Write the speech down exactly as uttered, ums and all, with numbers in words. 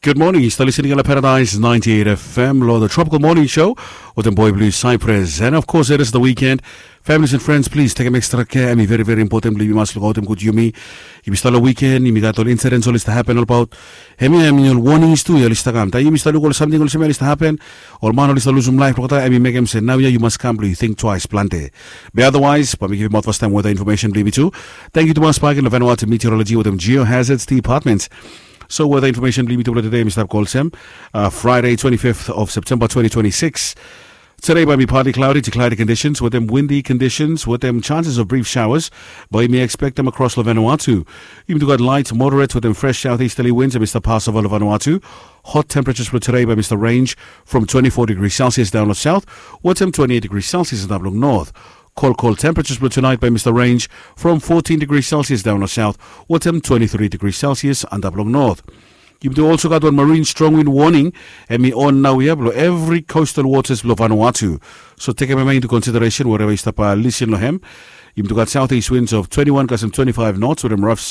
Good morning, yu stap listening long Paradise ninety-eight F M, long the Tropical Morning Show with the boy blue Cypress. And of course, it is the weekend. Families and friends, please take an extra care. Hemi very, very important blong yumi mas lukautim gud yumi. Yumi stap long weekend, yumi gat ol incidents oli stap happen olbaot. Hemi, hemi ol warnings tu ya oli stap kam. Taem yumi stap luk ol samting olsem ya oli stap happen, ol man oli stap lusum laef, olgeta hemi mekem se naoia yu mas kam blong yu think twice plante. Be otherwise, bae mi givim aot fastaem weather information blong yumi tu. Tangkiu tumas bak long Vanuatu Meteorology wetem Geohazards Department. So weather information blong yumi tu blong tede mi stap go olsem, uh, Friday, twenty-fifth of September twenty twenty-six. Today bae mi partly cloudy to cloudy conditions wetem windy conditions wetem chances of brief showers. Bae mi expectem across long Vanuatu. Yumi tu gat light, moderate wetem fresh southeasterly winds hemi stap pass ova long Vanuatu. Hot temperatures blong today bae mi stap range from twenty-four degrees Celsius daon long south wetem twenty-eight degrees Celsius antap long north. Cold, cold temperatures blong tonight bae mi stap range from fourteen degrees Celsius daon long south wetem twenty-three degrees Celsius antap long north. Yumi tu also gat wan marine strong wind warning hemi on naoia blong evri coastal waters blong Vanuatu. So tekem hem into consideration wherever yu stap, uh, listen long hem. Yumi tu gat southeast winds of twenty-one kasem twenty-five knots wetem rough sea